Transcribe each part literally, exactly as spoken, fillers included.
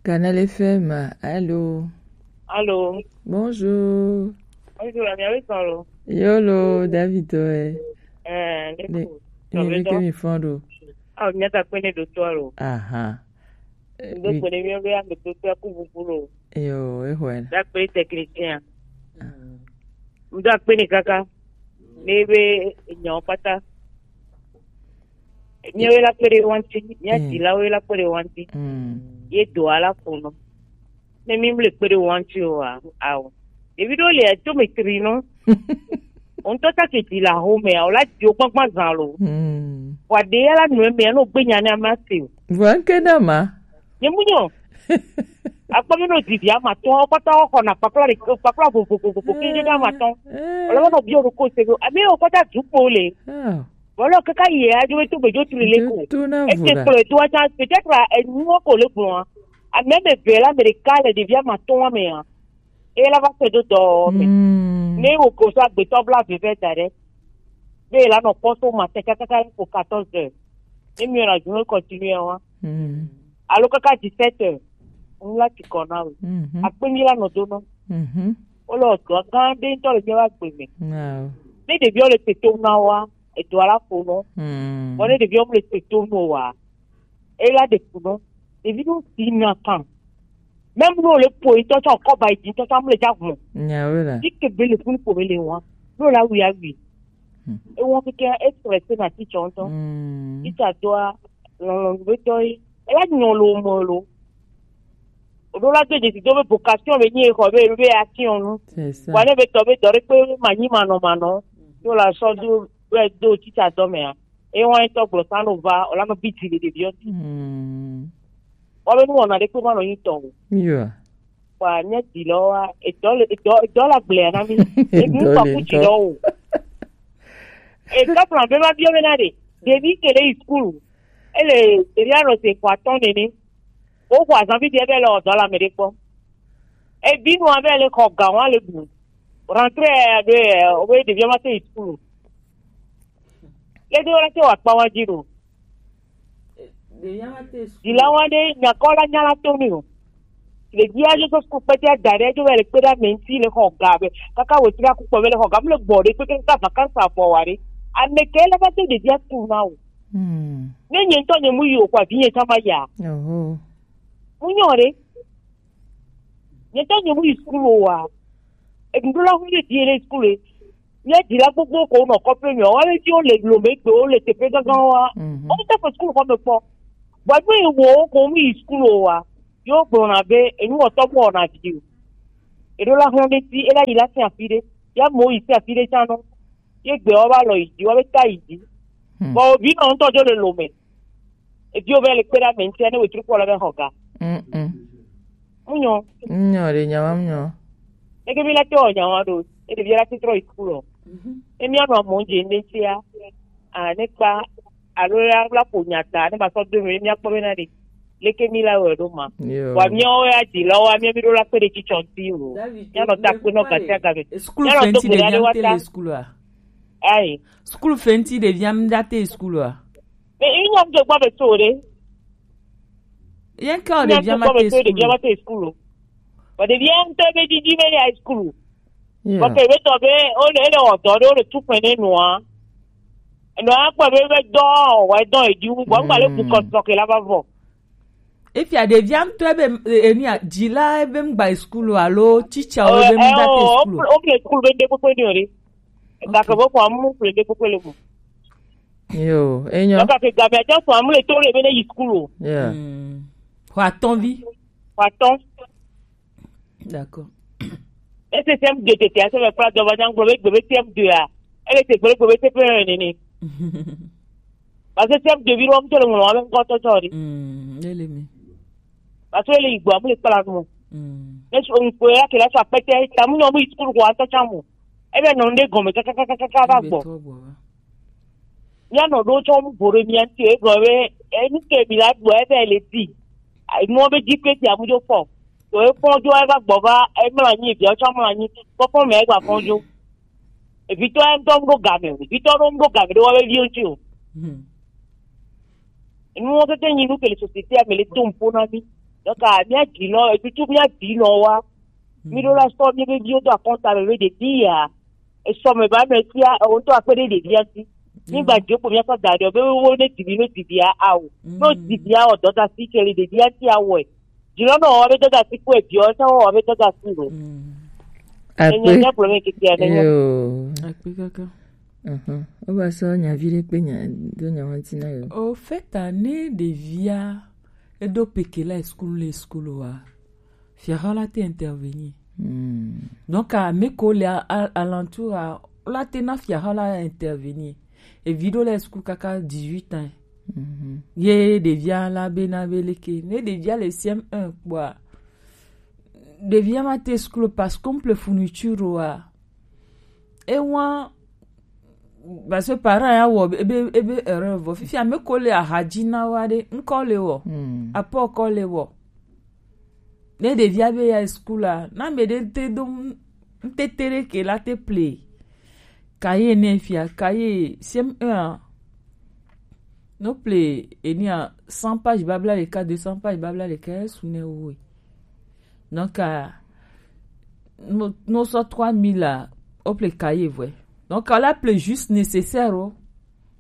Canal F M, allô? Allô? Bonjour. Bonjour, ami, avec son lot. Yolo, David, ouais. Euh, les Ne, coups. Ne, ne, ke mi fɔn ɖo. Ah, mi ata kpene do to alo. Aha. Eh, Donc, oui. Pone mi be ando to to ku bubulu. Yo, eh, ouais. Da pe technicien. Ah. Ndo akpene kaka. Ne be nyo pata. Miawe la kpere wanti, mia Mm. Dila we la kpere wanti. Mm. Ye do ala kono. Ne mi mle kpere wanti o a, a o. Ebi do le to me tri no. On to ta ke Dila ho me a, o la dio gbagba zan lo. Mm. Wa de ala no me no gbe nya ne ama se o. Wa nke na ma. Nye mu nyo. Akpɔ mi no didi ama tɔ kɔta kɔ na kpakpla de kpakpla vo vo vo vo vo kende de ama tɔ. Eh. Ɔlɔ no bi o ko se go. Ami o kɔta du po le. Ah. Bɔlɔ kaka yɛ ajo to gbejo tiri le ko. Ete kplɔ eto aja peut-être enu ko le gbɔn. Ame me ve la me de ka le ɖevi ama tɔ me a. E la va se do dɔ me. Mm. Ne wo ko so agbetɔ bla veve da ɖe. Be la nɔ kpɔ so ma te kaka ko quatorze heures. Ne mi la journée continue wa. Mm. Alo kaka dix-sept heures. N la ti kɔ na we. Mhm. Akpe mi la nɔ do nɔ. Mhm. O le dɔ gã ɖe ŋutɔ le míaƒe agbe me. Wow. Ne ɖeviwo le tetom na woa, edɔ la ƒo nɔ. Mm. Vɔ ne ɖeviwo mele tetom o wa, e la ɖe ku nɔ. Ɖevi ɖewo si na kan. Même ne wole ƒo ŋutɔ tsã, wòkɔ ba yi dzi ŋutɔ tsã, mele dza ʋu. Nyawo la. Ti ke be le funu ƒo me le wa. Ne wòle awi awi. Hmm. Ewɔ keke e stressé na teacher ŋutɔ. Hmm. Teacher doa, lɔlɔ̃ be tɔ ye. Ela nyɔ lo mo lo. O ɖo la do dzesi do be vocation be nyi xɔ be, be action nu. C'est ça. Wa ne be tɔ be dɔ ɖe kpe ma nyi manɔ manɔ. Do la sɔ do, be do teacher dɔ me a. E wa tɔ gblɔ sa no va, o la no bi ti le ɖeviwo. Hmm. Wa be nu wɔna ɖe kpe ma nɔ nyi tɔ o. Yo. Wa nye dilɔ wa, edɔ le, edɔ, edɔ la gblea na mi. Enu Edɔ le kpaku ŋutɔ. Dilɔ o. Edɔ plan be ma biɔ be na ɖe. Ɖevi ke le yi school. Ele, ɖevi anɔ se xɔ atɔ̃ nene. Wo xɔ azan bi ɖe be le ɔdɔ la me ɖe kpɔ. Ebi nu abe le xɔ ga wa le bu. Rentrée abe, o be ɖevi ma te yi school. Le de wala te wa kpa wa dzi ɖo. Ɖevia ma te school. Dila wa ɖe nyakɔ la nya la to mi o. Ɖevia dzo to school kpɛtɛ da ɖe dzo be le kpe ɖe ame ŋuti le xɔ ga be. Kaka wetri aku kpɔ be le xɔ ga, mle gbɔ ɖe kpekpe kaka vacances afɔ wa ɖe. Ame ke le va to ɖevia school na o. Hmm. Ne nye ŋutɔ nye mu yi o, kɔ avi nye tsã ma ya. Oho. Mu nyɔ ɖe. Nye ŋutɔ nye mu yi school o wa. Eɖuɖu la hu ye di le school e. Nye dila gbogbo ko nɔ kɔƒe me, wa le ti wo le lome gbe, wo le teƒe gãgã wa. Mhm. Wo te fe school xɔ me kpɔ. Bɔ gbe wo ko mu yi school o wa. Yo gblɔna be, enu wɔtɔ mɔ na vi o. Eɖo la hlɔ̃ ɖe ti, ela yi la si afi ɖe. Ya mo yi si afi ɖe tsã nɔ. Ye gbe wo va lɔ yi dzi, wo be ta yi dzi. Hmm. Bɔ wo vi nɔ ŋutɔ dzo le lome. Eviwo be le kpe ɖe ame ŋutia ne wetri kpɔ le be xɔ ga. Mm-mm. Munyɔ. Munyɔ ɖe nyawa munyɔ. Eke mi la te wɔ nyawa ɖo. E ɖevi la te trɔ yi school o. Mhm. E mi anɔ amewo dze ne tia. A ne kpa alo ya la ƒo nya ta ne ma sɔ do mi, mi akpɔ be na ɖe. Leke mi la wɔ ɖo ma. Yo. Wa miawo ya di la wa mia mi ɖo la kpe ɖe tsitsɔ ŋuti o. David, mia nɔ ta kpe nɔ gati agame. School mia nɔ do fenti gbe ɖe ɖe via wa te ta. Le school a. Ayi. School fenti ɖevia mi da te school a. Mais il n'y a que quoi de saurer. Rien que il n'y a que quoi de saurer, il n'y a pas de school. But il y a un peu de dix mille high school. Yeah. But we to be on the other one, on the two point one. No akpa be be do wa don edu. Wa ngba le ku ko so ke la ba vo. Efia ɖevia ŋutɔ ebe enia dzila ebe ŋgba yi school o alo teacher o ebe ŋda te school o. O kple school be ŋde kpekpe ni o ɖe. Gake be xɔa mu kple ŋde kpekpe le mo. Yo, enyo. Gake game aja xɔa mu le to le be ne yi school o. Yeah. Hmm. Xɔ atɔ̃ vi. Xɔ atɔ̃. D'accord. Ese C M deux tete ase me kpla dɔ va nya ŋgblɔ be gbe be C M deux a. Ele te gbe be gbe be C P un nene. Parce que C M deux vi ɖo ŋutɔ le ŋlɔ abe ŋkɔtɔ tsɔ ɖi. Mm, ele mi. Parce que ele yi gbɔ amu le kpla nu. Mm. Ne so ŋkɔ ya ke la so akpɛtɛ tamu nyɔ mu yi sukulu ko atɔ tsa mu. Ebe nɔ ŋde gɔme kakakaka va gbɔ. Ebe trɔ gbɔ va. Míanɔ ɖo tsɔ nu vo ɖe mía ŋuti o, egblɔ be, enu ke mi la ɖu ebe le di. Enuwo be dzi kpe tia mu dzo fɔ. To efɔ dzo eva gbɔ va, emlɔ anyi, viawo tsɔ mlɔ anyi, fɔfɔ mɛ egba fɔ dzo. Evitɔ ya ŋutɔ ŋɖo game o, evitɔ ɖo ŋɖo game ɖe woabe viwo ŋuti o. Hmm. Enuwo keke nyi nu ke le société me le to ŋpo na mí. Donc, ah, mía dzi nɔ, etutu mía dzi nɔ wa. Mí ɖo la sɔ mí be viwo do akɔnta me be ɖevi ya. Esɔ me ba me tia, ewo ŋutɔ akpe ɖe ɖevia ŋuti. Mí gba dzi kpo mía sɔ da ɖe be wo ne divi no divia awo. No divia o dɔda si ke le ɖevia ŋuti awɔe. Dzi nɔ nɔ wɔ be dɔda si kpo eviɔ sa wɔ be dɔda si lo. Enye Akpe. Nya problème ke tia ne nya. Yo. Akpe kaka. Mhm. Wo va sɔ nya vi ɖe kpe nya do nya wanti na yo. Au fait, ne ɖevia eɖo peke la school le school wa. Fiaha la te intervenir. Donc, ame ko le a- a- alentour a la te na fiaha la intervenir. Evi ɖo le school kaka dix-huit ans. Ye ɖevia la be na be leke. Ne ɖevia le C M un kpoa, ɖevia ma te school parce que on ple fourniture wa. Ewa, parce que parent ya wɔ ebe ebe erreur vɔ. Fifi ame ko le ahadzi na wa ɖe, ŋkɔ le wɔ. Apɔ kɔ le wɔ. Ne ɖevia be ya school la, na me ɖe te do ŋtete ɖe ke la te ple. Cahier ne fia, cahier C M un a. No ple enia cent page babla ɖeka, deux cents page babla ɖeka, esu ne woe. Donc, ah, no, no sɔ trois mille a, o ple cahier vɔe. Donc, ala ple juste nécessaire o.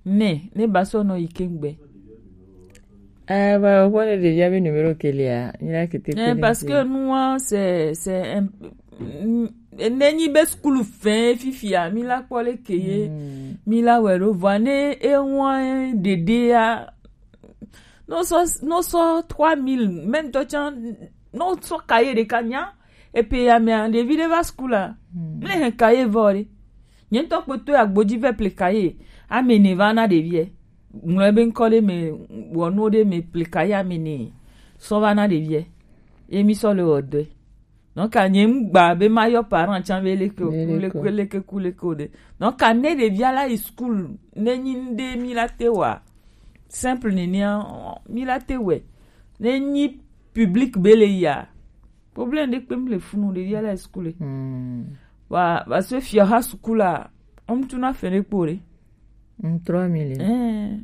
Ne, ne ba sɔ nɔ yi kengbe. Ah, ba, o ne ɖevia be numéro ke lia, ni la kete. Eh, parce que nous, hein, c'est, c'est un, mm, ne nyi be school fin fifia, mi la kpɔ le ke ye, mi la wɛ ɖo vɔ ne e wan ɖeɖe ya. No sɔ, no sɔ trois mille, même toi, tiens, no sɔ cahier ɖeka nya, et puis ya mea, ɖevi ɖe va school la. Ne hɛn cahier vɔ ɖe. Nye ŋutɔ kpotɔ agbodzi vɛ ple cahier. Ame ne va na ɖeviɛ. Ŋlɔ ebe ŋkɔ ɖe me, wɔ nuwo ɖe me ple cahier ame ne. Sɔ va na ɖeviɛ. Ye mi sɔ le wɔ dɔe. Donc, nye ŋgba be ma yɔ parent tsan be leke o, leke o. Kuleke, kuleke o ɖe. Donc, ne ɖevia la yi school, ne nyi ŋɖe mi la te wa. Simple nenea, mi la te wɛ. Ne nyi public be le ya. Problème ɖe kpe mi le funu ɖevia la yi school. Wa, parce que fiaha school la, on tuna fere kpo ɖe. Mm, trois mille. Eh.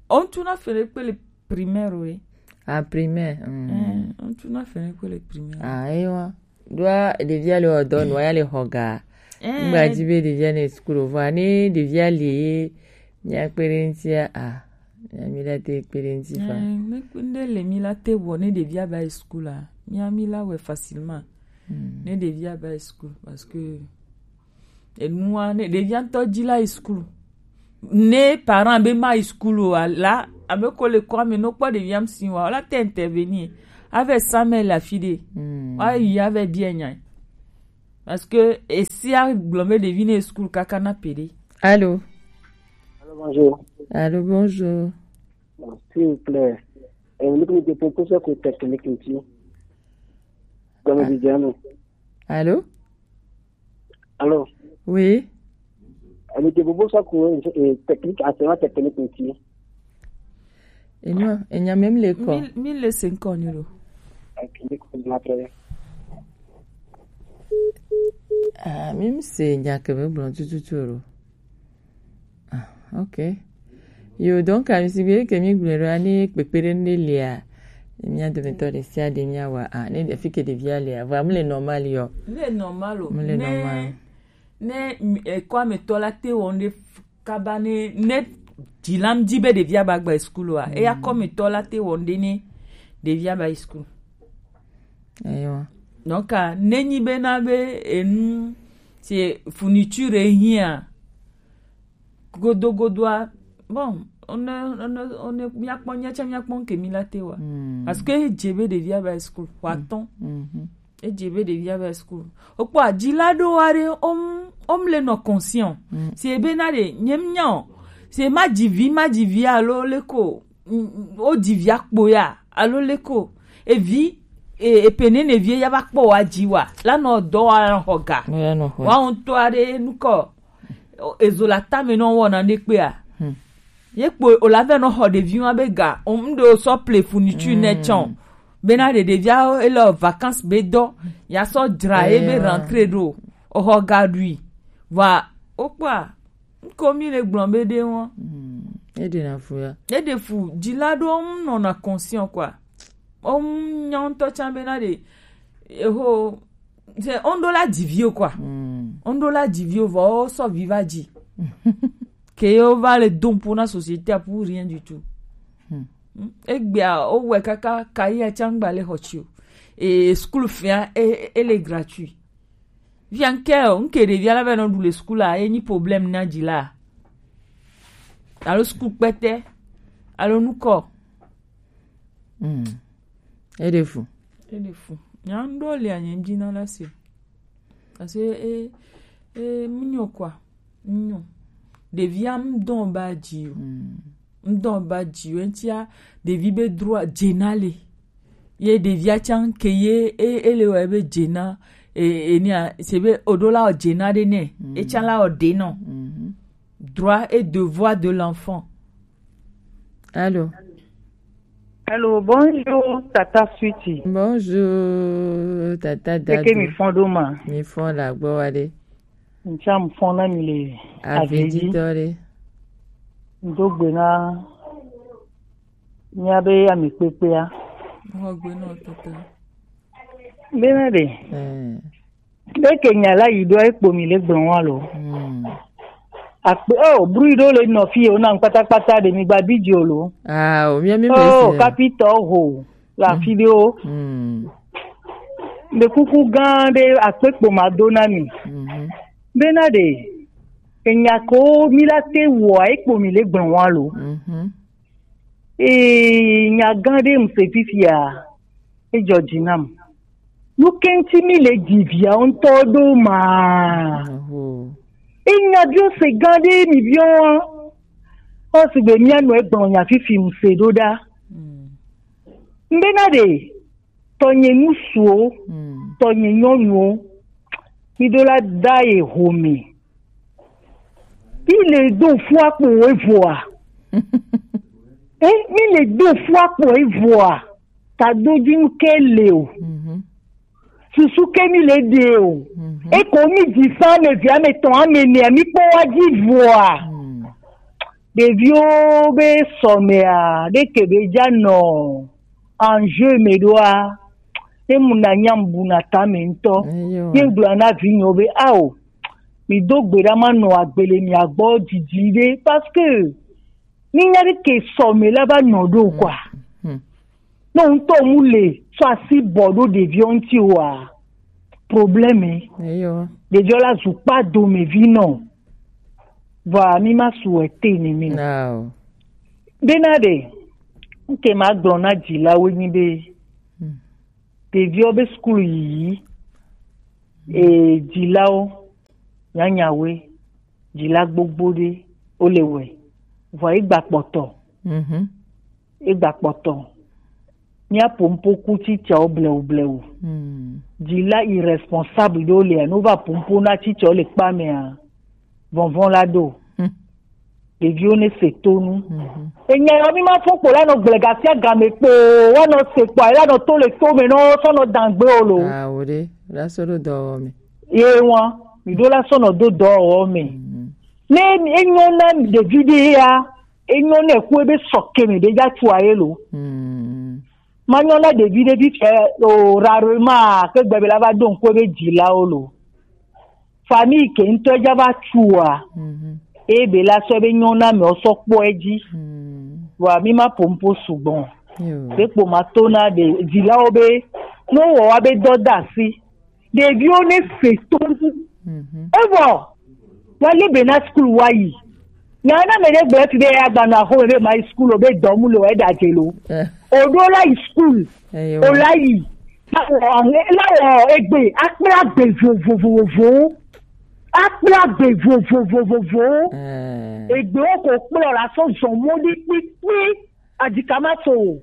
On tuna fere kpe le primaire o ɖe. Ah, primaire. Mm. Eh, on tuna fere kpe le primaire. Ah, ewa. Ɖoa ɖevia le wɔ dɔ nua ya le xɔ ga. Eh. Ŋgba dzi be ɖevia ne school o vɔa ne ɖevia le ye mia kpe ɖe ŋutia, ah, mia mi la te kpe ɖe ŋuti fa. Eh, ne kpe ɖe le mi la te wɔ ne ɖevia ba yi school la, mia mi la wɛ facilement. Mm. Ne ɖevia ba yi school parce que enua ne ɖevia ŋutɔ dzi la yi school. Ne parent be ma yi school o la, abe ko le kɔ ame no kpɔ ɖevia ŋuti wa, la te intervenir. Avec ça, mais la fille de. Mm. Wa yi avec bien nya. Parce que esia gblɔ be ɖevi ne school kaka na peɖe. Allô? Allô, bonjour. Allô, bonjour. Bon, s'il vous plaît, eh, nous nous déposons sur le technique ici. Comme je dis, nous. Allô? Allô? Oui. Nous déposons sur le, eh, technique, enseignement technique ici. Et non, il n'y a même les corps. Mille, mille cinquante euros. Ok, je comprends très bien. Ah, même c'est, il n'y a que même blanc, tout, tout, tout, là. Ah, ok. Yo, donc, ami si be ke mi gblɔ ɖo ani kpekpe ɖe ne lia. Mia dometɔ ɖe sia ɖe mia wa. Ah, ne fi ke ɖevia lia. Vɔa, mu le normal yo. Mu le normal o. Mu le normal. Ne, ne, eh, kɔ ametɔ la te wɔ ŋɖe f-, kaba ne, ne dzilam dzi be ɖevia ba gba school wa. Eya kɔ ametɔ la te wɔ ŋɖe ne ɖevia ba school. Eyo. Donc, ah, ne nyi be na be enu, c'est fourniture hiã. Godogodoa, bon, on ne, on ne, on ne, míakpɔ, míatsã míakpɔ ŋke mí la te wa. Mm. Parce que edze be ɖevia va school, xɔ atɔ̃. Mm. Mhm. Edze be ɖevia va school. Wokpɔ adzi la ɖo wa ɖe, om, om le nɔ conscient. Mm. Si ebe na ɖe, nye mnya o. Si ma dzi vi, ma dzi vi alo le ko, mm, mm, wo dzi via kpo ya, alo le ko. Evi, e, epe nene vi ya va kpɔ wa dzi wa. La nɔ dɔ wa nɔ xɔ ga. Ya nɔ xɔ. Wa ŋutɔ aɖe nukɔ. Ezo le atame nɔ wɔna ɖe kpea. Hmm. Ye kpo o la vɛ nɔ xɔ ɖevi wa be ga. O ŋɖe o sɔ ple fourniture nɛ tsɔ. Hmm. Bena ɖe ɖevia ele vacances be dɔ. Ya sɔ dzra ye be rentrée ɖo. O xɔ ga ɖui. Va o kpɔa. Ŋko mi le gblɔ be ɖe wɔn. Hmm. E ɖe na fu ya. E ɖe fu. Dzila ɖo ŋu nɔna conscient quoi. O nya ŋutɔ tsã bena ɖe eho, c'est, on doit la di vieux quoi. On doit la di vieux, vɔ o sɔ vi va dzi. Que o va le don pour na société pour rien du tout. Egbea o wɛ kaka kayi a tsã gba le xɔ tsi o. Et school fia e, e le gratuit. Via nke o, nke ɖevia la va nɔ ɖu le school a, e nyi problème na dzi la. Alo school kpɛtɛ, alo nukɔ. Eɖe fu. Eɖe fu. Nya ŋɖo le anye ŋdzi na la se. Parce que e, e, mnyɔ quoi. Mnyɔ. Ɖevia mdɔn ba dzi o. Mdɔn ba dzi o. Eŋtia, ɖevi be droit dze na le. Ye ɖevia tsã ke ye, e, e le wɔ ebe dze na, e, e nia, se be oɖo la o dze na ɖe nɛ. E tsã la o ɖe nɔ. Droit et devoir de l'enfant. Allô. Allô, bonjour, Tata Switi. Bonjour, Tata Dadou. Eke mi fɔn ɖo ma? Mi fɔn la gbɔ wa ɖe. Ntsa mi fɔn na mi le. Aveditɔ ɖe. Ndo gbe na mía be ame kpekpea. Xɔ gbe nɔ tete. Bena ɖe. Leke nya la yi ɖo ekpo mi le gblɔ wa lo. Akpe o bru ɖo le nɔ fi o na kpatakpata ɖe mi gba bi dzi o lo. Ah, o mia mi me. Oh, kapitɔ ho la fi ɖe o. Le kuku gã ɖe akpe kpo ma do na mi. Bena ɖe enya ko mi la te wɔ ekpo mi le gblɔ wa lo. Ee, nya gã ɖe ŋse fifia, edzɔ dzi nam. Nu ke ŋuti mi le dzi viawo ŋutɔ ɖo ma? Enya biɔ se gã ɖe mi biɔ wa. Ɔ sigbe mia nɔ egblɔ nya fifi ŋse ɖo ɖa. Ŋbena ɖe tɔnye ŋutsuwo, tɔnye nyɔnuwo, mi ɖo la da ye home. Mi le do fu akpo evoa. Eh, mi le do fu akpo evoa. Ta do dzi nu ke le o. Susu ke mi le de o. Eko mi dzi sa ame vi ame tɔn ame nea mi kpɔ wa dzi voa. Ɖeviwo be sɔmea ɖe ke be dza nɔ enjeu me ɖoa, ne mu na nyam bu na tame ŋutɔ. Ye gblɔ na vinyewo be ao, mi do gbe ɖa ma nɔ agbele mia gbɔ didi ɖe, parce que mi nya ɖe ke sɔme la va nɔ ɖo quoi. Ne ŋutɔ mu le sɔ asi bɔ ɖo ɖeviwo ŋuti oa, problème. Ɖeviwo la zu kpa dome vi nɔ. Vɔa mi ma su ete ne mi. Bena ɖe nke ma gblɔ na dzilawo nyi be ɖeviwo be sukulu yiyi, e dzilawo nyanyawoe, dzila gbogbo ɖe wo le wɛ, vɔ egba kpɔtɔ. Egba kpɔtɔ. Mía pompo ku tsitsawo blewu blewu. Dzila irresponsable ɖewo lia, no va pompo na tsitsawo le kpa mea, vɔnvɔn la ɖo. Ɖeviwo ne se to nu. Enya yɔ mi ma fɔ kpo la nɔ gblẽ gasia game kpo, wa nɔ se kpo, la nɔ to le to me nɔ sɔ nɔ dangbe o lo. Awo ɖe, la sɔ ɖo dɔwɔwɔ me. Ye wa, mi ɖo la sɔ nɔ do dɔwɔwɔ me. Ne enyo na ɖevi ɖe ya, enyo ne ku ebe sɔ ke me ɖe dza tu aye lo. Ma nyɔ na ɖevi ɖe vi fɛ o rarement ke gbɛ be la va do ŋku ebe dzilawo lo. Famille ke ŋutɔ dza va tua, eye be la sɔ be nyɔ na me sɔ kpɔ edzi. Vɔa mi ma pompo sugbɔ. Be kpo ma to na ɖe dzilawo be no wɔ wa be dɔ da asi. Ɖeviwo ne se to. Evɔ wa le be na school wa yi. Nya na me ɖe gblɔ ti be ya gba na xo be ma yi school o be dɔmu lo e da je lo. O ɖo la yi school. O la yi. La wɔ egbe akpla gbe vovovovo. Akpla gbe vovovovo. Egbe wo ko kplɔ la sɔ zɔn mɔ ɖi kpikpi. Adika ma so o.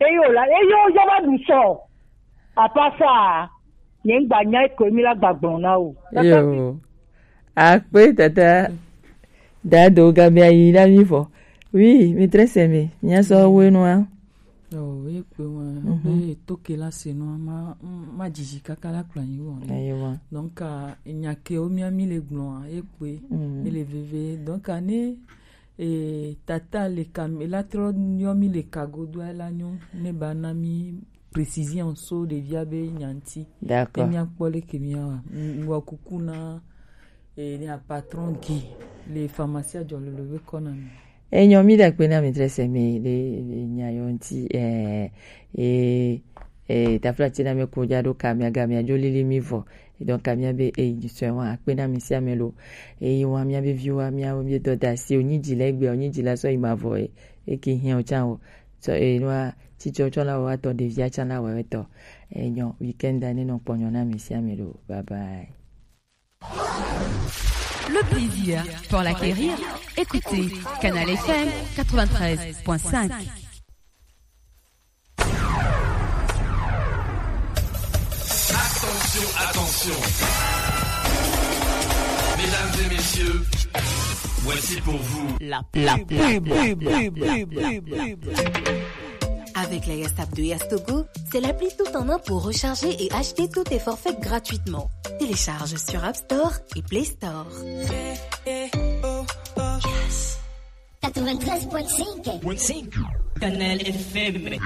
Eyo la, eyo ya va ɖu sɔ. Apasa, nye ŋgba nya eko mi la gba gblɔ na o. Yo. Akpe tata. Dado gamia yi na mi fɔ. Oui, mi très aimé. Nya sɔ we nua. Oh, oui, pe wa. Be to ke la se no ma ma jiji kaka la kpla yi wo. Ayo wa. Donc nya ke o mi ami le gblɔ a, e pe. E le veve. Donc ne e tata le ka mi la trɔ yɔ mi le ka godo la nyo ne ba na mi précision so ɖevia be nya ŋuti. Ne D'accord. Míakpɔ leke míawa. Ŋgɔ kuku na eh, nya patron Guy le pharmacie Ajɔlolo be kɔna me. Enyɔ, mi ɖe akpe na mi dre se mi le nya yɔ ŋuti. Eh, eh, eh, tafla ti na mi ko ja ɖo kamia gamia jo lili mi vɔ. Donc kamia be eyi sɔe wa akpe na mi si ame lo. Eyi wa mia be viwa mia wo mi dɔ da si o nyi dzi le gbe o nyi dzi la sɔ yi ma vɔ e. Eki hiã o tsa o. So e wa titsi o tsɔ la wa tɔ ɖevia tsa la wa tɔ. Enyɔ, week-end ne nɔ kpɔnyɔ na mi si ame lo. Bye bye. Le plaisir pour l'acquérir. Écoutez Canal F M quatre-vingt-treize point cinq. Attention, attention. Mesdames et messieurs, voici pour vous la pub. Avec la Yastap de Yastogo, c'est l'appli tout en un pour recharger et acheter tous tes forfaits gratuitement. Télécharge sur App Store et Play Store. Quatre-vingt-treize point cinq. Canal F M.